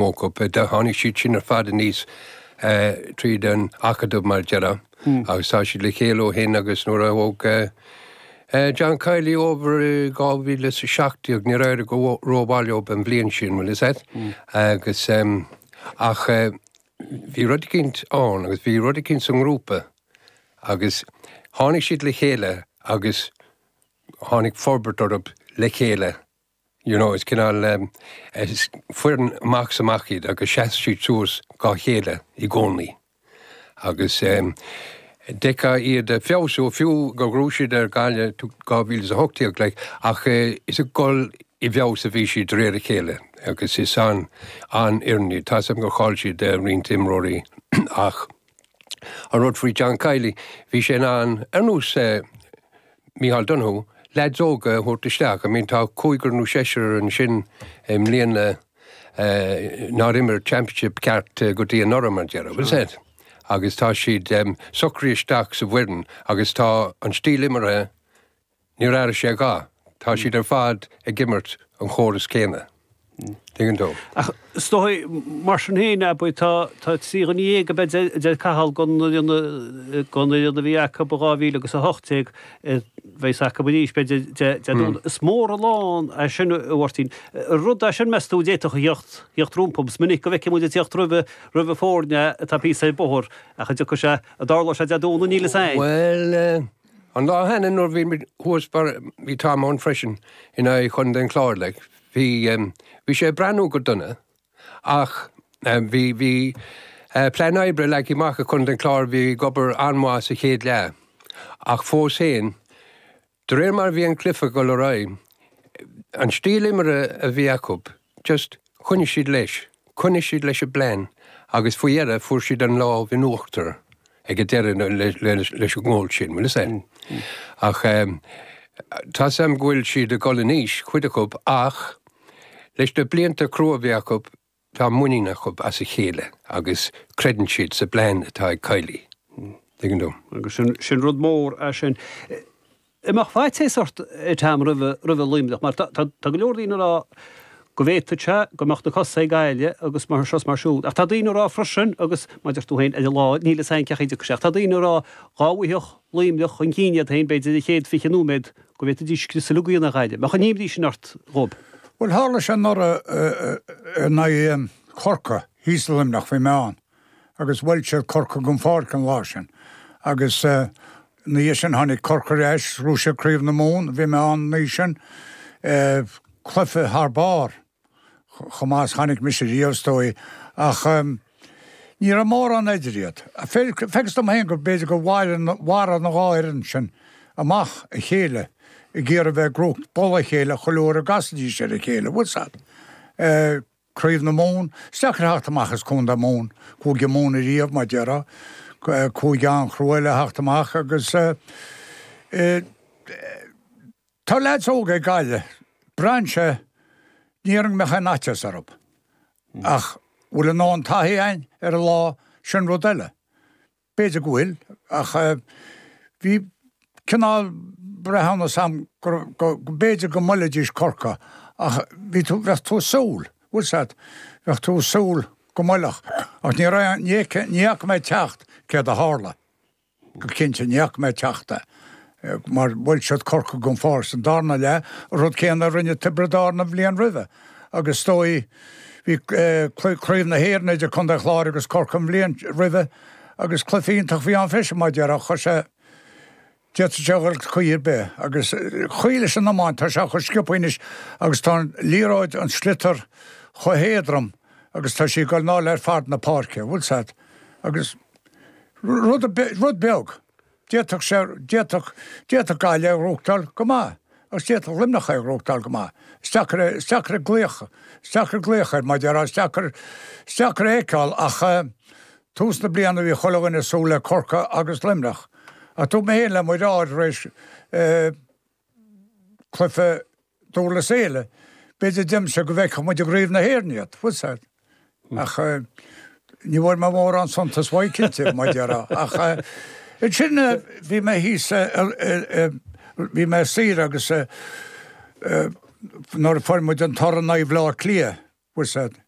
Mó acu. Tháinig siad sin ar fad aníos tríd an acadamh mar a déarfá agus tá siad le chéile ó shin agus nuair a thóg John Kiely over i 2017 níor éirigh go rómhaith leo an bhliain sin, bhfuil fhios a'd? Agus ach bhí rud eicínt ann agus bhí rud eicínt sa ngrúpa agus tháinig siad le chéile agus tháinig forbairt orthu le chéile. You know, is cineál, is foireann amach is amach iad agus sheas siad suas dhá chéile i gcónaí. Agus d'fheicfeá iad ag feabhsú, fiú gur ghnóthaigh siad ar Ghaillimh 2018, like, ach is ag dul i bhfeabhas a bhí siad de réir a chéile agus is an, an-fhoireann iad. Tá's agam gur chaill siad roinnt imreoirí ach an rud faoi John Kiely, bhí sé in ann, ar nós Micheál Donoghue, leaids óga a thabhairt isteach. I mean tá cúigear nó seisear ansin i mbliana nár imir championship ceart go dtí anuraidh mar a déarfá, bhfuil fhios a'd? Agus tá siad socraithe isteach sa bhfoireann agus tá an stíl imeartha, níor athraigh sé a dhath. Tá siad ar fad ag imirt an chóras céanna. Tuigeann tú? Ach is dóigh, mar sin féin, abair, tá 13 dhuine ab ea a deir Cathal den fhoireann a bhí acu i 2000 agus 18 a bheas acu arís, b'fhéidir, Dé Domhnaigh. Is mór an lán é sin, a Mháirtín. Rud é sin, meas tú, a d'fhéadfadh a theacht, theacht rompu. Is minic go bhfeiceann muid ag teacht roimhe, roimhe foirne atá píosa ar bóthar, ach an dtiocfaidh sé, an dtarlóidh sé Dé Domhnaigh, níl fhios a'inn. Bhuel, an lá cheana nuair a bhí muid thuas, bhí Tom ann freisin, in aghaidh Chontae an Chláir, like, Bhí, bhí sé ag breathnú go dona ach bhí, bhí plean oibre leagtha amach ag Contae an Chláir, bhí ag obair an-mhaith sa chéad leath ach fós féin, de réir mar a bhí an cluiche ag dul ar aghaidh, an stíl imeartha a bhí acu, just choinnigh siad leis, choinnigh siad leis an bplean agus faoi dheireadh fuair siad an lámh in uachtar. ag an deireadh leis an ngól sin, bhfuil fhios a'd. Ach tá's a'm go bhfuil siad ag dul in aois, cuid acu, ach leis na blianta crua a bhí acu, tá muinín acu as a chéile agus creideann siad sa bplean atá ag Kiely. Tuigeann tú? Agus sin rud mór é sin. An mbeadh faitíos ort a Tom roimhe Luimneach mar tá go leor daoine ag rá go bhféadfadh sé go mbeadh na cosa ag Gaillimh agus mar seo is mar siúd ach tá daoine ag rá freisin agus mar a deir tú féin ar an lá níl fhios a'inn cén chaoi a dtiocfaidh sé ach tá daoine ag rá dá bhfaigheadh Luimneach chun cinn iad féin b'fhéidir an chéad 20 nóiméad go bhféadfaidís scrios uilig a dhéanamh ar Ghaillimh. Mbeadh an imní sin ort dhóibh? Bhuel tharla sé anuraidh in aghaidh Chorcaí thíos i Luimneach bhí mé ann agus bhuail siad Corcaigh den pháirc an lá sin agus ina dhiaidh sin tháinig Corcaigh ar ais, ghnóthaigh siad Craobh na Mumhan, bhí mé ann an oíche sin, cluiche thar barr, chomh maith is chonaic mise riamh is dóigh, ach ní raibh mórán idir iad. Feictear dom féin go b'fhéidir gur mharaigh na dhá fhoireann sin amach a chéile ag iarraidh bheith ag gnóthachtáil boladh a chéile chuile uair a gcasaidís ar a chéile, bhfuil 's a'd. Craobh na Mumhan, is deacair theacht amach as Contae Mumhan, Cúige Mumhan ariamh, mar déarfá, cúige an-chrua le theacht amach agus tá leaids óga ag Gaillimh, braitheann sé, ní déarfainn go mbeadh aon fhaitíos orthu ach bhfuil a ndóthain taithí a'inn ar an lá, sin rud eile. B'fhéidir go bhfuil, ach bhí cineál breithiúnas a'm go b'fhéidir go mbuailfidís Corcaigh ach bhí tú, bheadh tú ag súil, bhfuil 's a'd, bheadh tú ag súil go mbuailfeadh ach ní raibh, ní fhaca mé ag teacht céard a tharla, go cinnte ní fhaca mé ag teacht é mar bhuail siad Corcaigh den pháirc sa darna leath, an rud céanna a rinne Tiobraid Árann an bhliain roimhe agus is dóigh bhí Craobh na hÉireann idir Contae an Chláir agus Corcaigh an bhliain roimhe Agus cluiche iontach a bhí ann freisin, mar déarfá, chuir sé, d'fhéadfadh sé a dhul caoi ar bith. Agus chaoi leis an iomáint, tá sé chomh sciobtha anois agus tá an liathróid, an sliotar chomh héadrom agus tá sí ag dul anall ar fad na páirce, bhfuil 's a'd. Agus rud, rud beag, d'fhéadfadh sé, d'fhéadfadh, d'fhéadfadh Gaillimh é a ghnóthachtáil go maith agus d'fhéadfadh Luimneach é a ghnóthachtáil go maith. Is deacair é, is deacair glaoch, is deacair glaoch air, mar déarfá, is deacair, is deacair é a fheiceáil ach, Tús na bliana bhí chuile dhuine ag súil le Corcaigh agus Luimneach. Ach dúirt mé féin le mo dheartháir tar éis cluiche Dhurlas Éile, b'fhéidir deimse go bhfeicfeadh muid i gCraobh na hÉireann iad, bhfuil 's a'd. Ach ní bhfuair mé mórán suntais uaidh cinnte, mar déarfá. Ach ansin bhí mé thíos, bhí mé ar saoire agus nuair a fuair muid an toradh in aghaidh Bhaile Átha Cliath, bhfuil 's a'd.